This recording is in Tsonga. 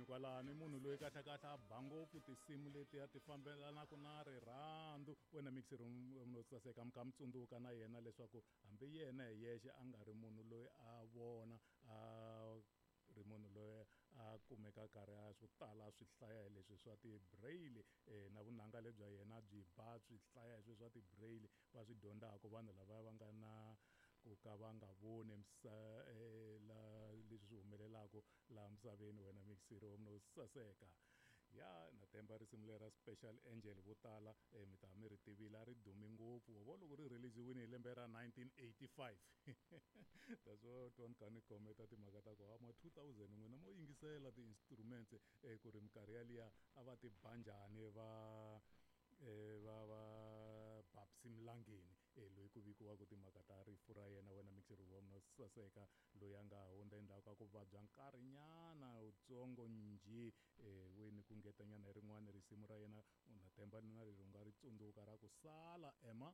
Mahlweni kwalano i munhu loyi kahlekahle a ba ngopfu tinsimu letiya ti fambelanaka na rirhandzu. Wena mixer no saseka mi kha mi tsundzuka na yena leswaku hambi yena hi yexe a nga ri munhu loyi a vona, a ri munhu loyi a kumeka karhi a swo tala swi hlaya hi leswi swa ti-braille, na vunanga lebya yena byi ba swi hlaya hi sweswi swa ti-braille va swi dyondzaka vanhu lava va nga na ku ka va nga voni la leswi swi humelelaka laha misaveni. Wena mixer wa munhu saseka ya na temba risimu leri ra Special Angel, vo tala mi ta mi ri tivile, a ri dumi ngopfu vo loko ri release-iwini hi lembe ra 1985. That's what twa ni kha ni khometa timhaka ta ku ma 2000 n'wina mo yingisela ti-instruments, ku ri minkarhi yaliya a va ti ba njhani va va va Babsy Mlangeni, loyi ku vikiwaka timhaka ta rifu ra yena. Wena mixer wa munhu saseka loyi a nga hundza endzhaku ka ku vabya nkarhinyana wutsongo njhe, wini ku ngetanyana hi rin'wana risimu ra yena, u na temba na leri u nga ri tsundzuka ra ku sala ema.